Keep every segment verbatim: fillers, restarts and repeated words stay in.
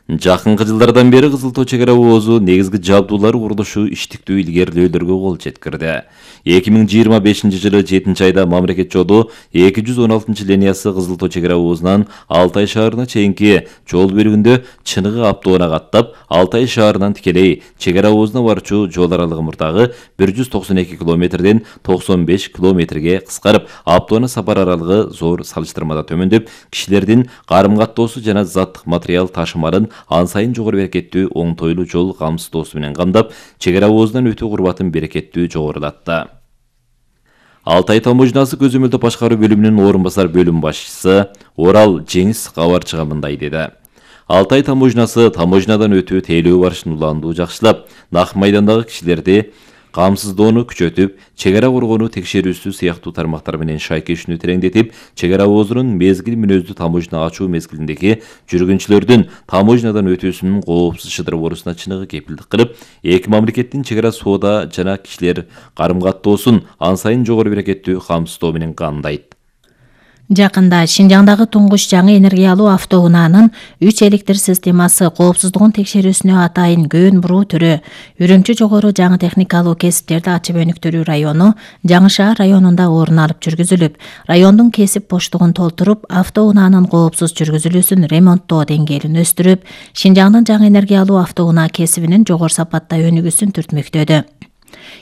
Жакынкы жылдардан бери Кызыл Тоо чек ара оозу негизги жабдуулар курулушу иштиктүү илгерилөөлөргө кол жеткирди. эки миң жыйырма бешинчи жылы жетинчи айда мамлекет жолу эки жүз он алтынчы линиясы Кызыл Тоо чек ара оозунан Алтай шаарына чейинки жол бөлүгүндө Чыныгы автоунаа каттап, Алтай шаарынан тикелей чек ара оозуна барчу жол аралыгы мурдагы бир жүз токсон эки километрден токсон беш километрге кыскарып, автоунаа сапар аралыгы зор салыштырмада төмөндөп, кишилердин карым каттоосу жана заттык материал ташымалын ан сайын жогору берекеттүү оңтойлуу жол камсыздоосу менен камдап, чек ара оозунан өтүү курбатын берекеттүү жогорулатты. Алтай таможнасы көзөмөлдөө башкаруу бөлүмүнүн орун басар бөлүм башчысы Орал Жеңис кабарчыга мындай деди. Алтай таможнасы таможнадан өтүү тейлөө барышын уландуу жакшылап, нак майдандагы кишилерди камсыздоону күчөтүп, чек ара коргонуу текшерүүсү сыяктуу тармактар менен шайкешүүнү тереңдетип, чек ара оозунун мезгил мүнөздүү таможна ачуу мезгилиндеги жүргүнчүлөрдүн таможнадан өтүүсүнүн коопсуз шыдыр борусуна чыныгы кепилдик кылып, эки мамлекеттин чек ара соода жана кишилер карым каттоосун ан сайын жогору берекеттүү камсыздоо менен камдайт. Жакында Шинжаңдагы туңгуч жаңы энергиялуу автоунаанын үч электр системасы коопсуздугун текшерүүсүнө атайын көөн буруу түрү Үрүмчү жогору жаңы техникалуу кесиптерди ачып өнүктүрүү району Жаңы шаар районунда орун алып жүргүзүлүп, райондун кесип боштугун толтуруп, автоунаанын коопсуз жүргүзүлүүсүн ремонттоо деңгээлин өстүрүп, Шинжаңдын жаңы энергиялуу автоунаа кесибинин жогору сапатта өнүгүүсүн түртмөктөдү.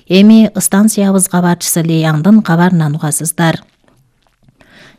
Эми станциябыз кабарчысы Леяңдын кабарынан угасыздар.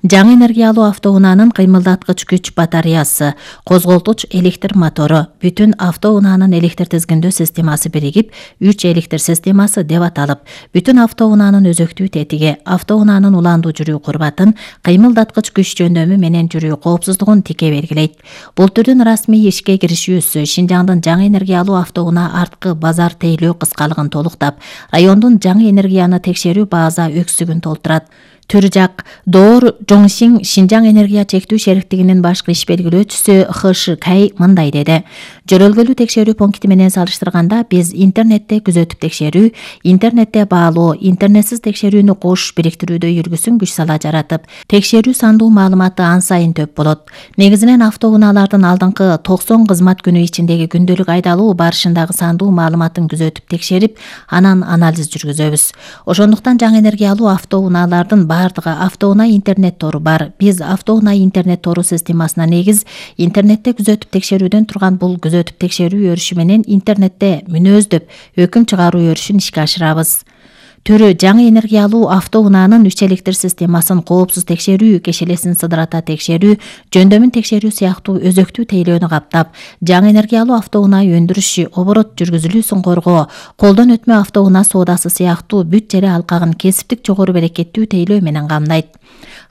Жаңы энергиялуу автоунаанын кыймылдаткыч күч батареясы, козголтуч электр мотору, бүтүн автоунаанын электр тизгиндөө системасы биригип, үч электр системасы деп аталып, бүтүн автоунаанын өзөктүү тетиги, автоунаанын уландуу жүрүү курбатын, кыймылдаткыч күч жөндөмү менен жүрүү коопсуздугун тике белгилейт. Бул түрдүн расмий ишке киришүүсү Шинжаңдын жаңы энергиялуу автоунаа арткы базар тейлөө кыскалыгын толуктап, райондун жаңы энергияны текшерүү база өксүгүн толтурат. Төр жак Доор Жоңсиң Шинжаң энергия чектүү шериктигинин башкы иш белгилөөчүсү Хышы Кай мындай деди. Жөрөлгөлүү текшерүү пункти менен салыштырганда биз интернетте күзөтүп текшерүү, интернетте баалоо, интернетсиз текшерүүнү кош бириктирүүдө жүргүсүн күч сала жаратып, текшерүү сандуу маалыматы ан сайын төп болот. Негизинен автоунаалардын алдыңкы токсон кызмат күнү ичиндеги күндөлүк айдалуу барышындагы сандуу маалыматын күзөтүп текшерип, анан анализ жүргүзөбүз. Ошондуктан жаңы энергиялуу автоунаалардын бардыгы автоунаа интернет тору бар. Биз автоунаа интернет тору системасына негиз интернетте күзөтүп текшерүүдөн турган бул күзөтүп текшерүү өрүшү менен интернетте мүнөздөп өкүм чыгаруу өрүшүн ишке ашырабыз. Төрү жаңы энергиялуу автоунаанын үч электр системасын коопсуз текшерүү, кешелесин сыдырата текшерүү, жөндөмүн текшерүү сыяктуу өзөктүү тейлөөнү каптап, жаңы энергиялуу автоунаа өндүрүшү, оборот жүргүзүлүүсүн коргоо, колдон өтмө автоунаа соодасы сыяктуу бүт жере алкагын кесиптик жогору берекеттүү тейлөө менен камдайт.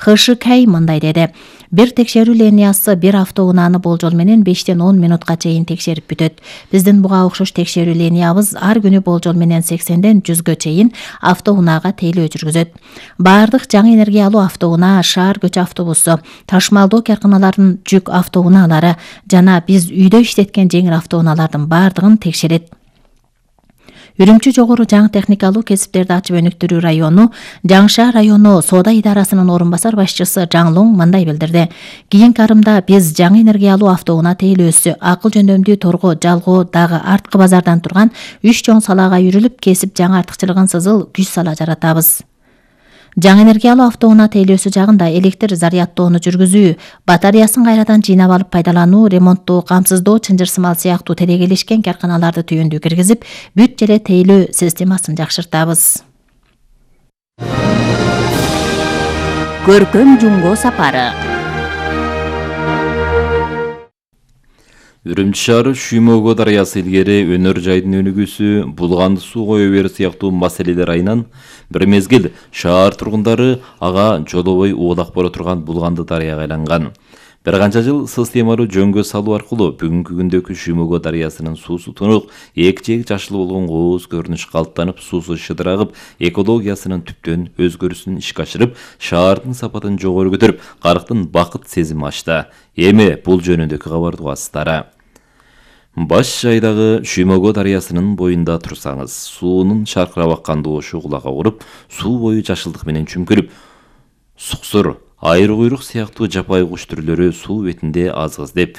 Хышы Кай мындай деди. Бир текшерүү линиясы бир автоунааны болжол менен бештен он минутка чейин текшерип бүтөт. Биздин буга окшош текшерүү линиябыз ар күнү болжол менен сексенден жүзгө чейин автоунаага тейлөө жүргүзөт. Бардык жаңы энергиялуу автоунаа, шаар көчү автобусу, ташмалдоо карканалардын жүк автоунаалары жана биз үйдө иштеткен жеңил автоунаалардын бардыгын текшерет. Үрүмчү жогору жаңы техникалуу кесиптерди ачып өнүктүрүү району Жаңы шаар району соода идарасынын орун басар башчысы Жаңлоң мындай билдирди. Кийинки арымда биз жаңы энергиялуу автоунаа тейлөөсү, акыл жөндөмдүү торго жалгоо дагы арткы базардан турган үч чоң салаага үйрүлүп, кесип жаңы артыкчылыгын сызыл күч сала жаратабыз. Жаңы энергиялуу автоунаа тейлөөсү жагында электр зарядтоону жүргүзүү, батареясын кайрадан жыйнап алып пайдалануу, ремонттоо, камсыздоо, чынжырсымал сыяктуу терегелешкен карканаларды түйүндү киргизип, бүт жере тейлөө системасын жакшыртабыз. Көркөм жумго сапары. Үрүмчү шаары Шүймөгө дарыясы илгери өнөр жайдын өнүгүүсү, булганды суу кое берүү сыяктуу маселелер айынан бир мезгил шаар тургундары ага жолобой уулак боло турган булганды дарыяга айланган. Бир канча жыл системалуу жөнгө салуу аркылуу бүгүнкү күндөгү Шүймөгө дарыясынын суусу тунук, эки жеги жашыл болгон кооз көрүнүш калыптанып, суусу шыдырагып, экологиясынын түптөн өзгөрүүсүн ишке ашырып, шаардын сапатын жогору көтөрүп, карктын бакыт сезими ачты. Эми бул жөнүндөгү кабарды угасыздар. Баш жайдагы Шүймөгө дарыясынын боюнда турсаңыз, суунун шаркырап аккан доошу кулакка уруп, суу бою жашылдык менен чүмкүрүп, суксур, айыр куйрук сыяктуу жапайы куш түрлөрү суу бетинде азгыз деп,